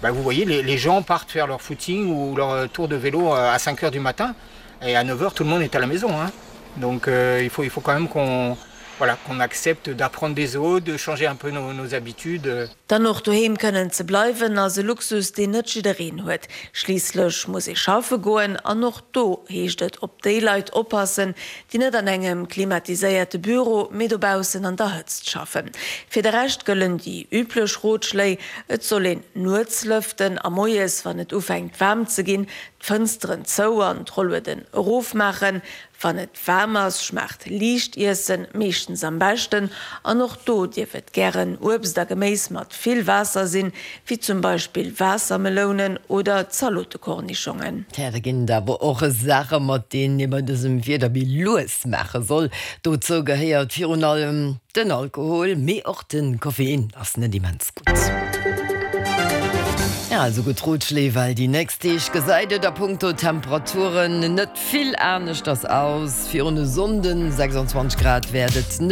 Bah, vous voyez, les, les gens partent faire leur footing ou leur tour de vélo à 5 heures du matin et à 9 heures tout le monde est à la maison. Hein. Donc euh, il, faut, il faut quand même qu'on voilà, qu'on accepte d'apprendre des autres, de changer un peu nos, nos habitudes. Dann och doheem kënnen ze bleiwen ass e Luxus, deen net jiddereen huet. Schliisslech muss ee schaffe goen an och do heescht et op déi Leit oppassen, déi net an engem klimatiséierte Büro, mee dobaussen an der Hëtzt schaffen. Fir de Rescht gëllen déi üblech Rotschléi, Et soll een nuets lëften a moies, wann et ufänkt waarm ze ginn, d'Fënsteren zou an d'Rollueden erofmaachen. Wann et waarm ass, schmaacht liicht Iessen meeschtens am beschten an och do dierf et gären Uebst a Geméis mat vill Waasser sinn, wéi zum Beispill Waassermelounen oder Zalotekornischongen. Tja, da ginn et awer och Saache mat deenen ee bei dësem Wieder méi lues maache soll. Dozou gehéiert virun allem den Alkohol, mee och de Koffein ass net immens gutt. Ja, also gutt Rotschléi, well déi nächst Deeg gesäit et a punkto Temperaturen net vill aneschters aus. Virun e Sonnden, 26 Grad wäert et.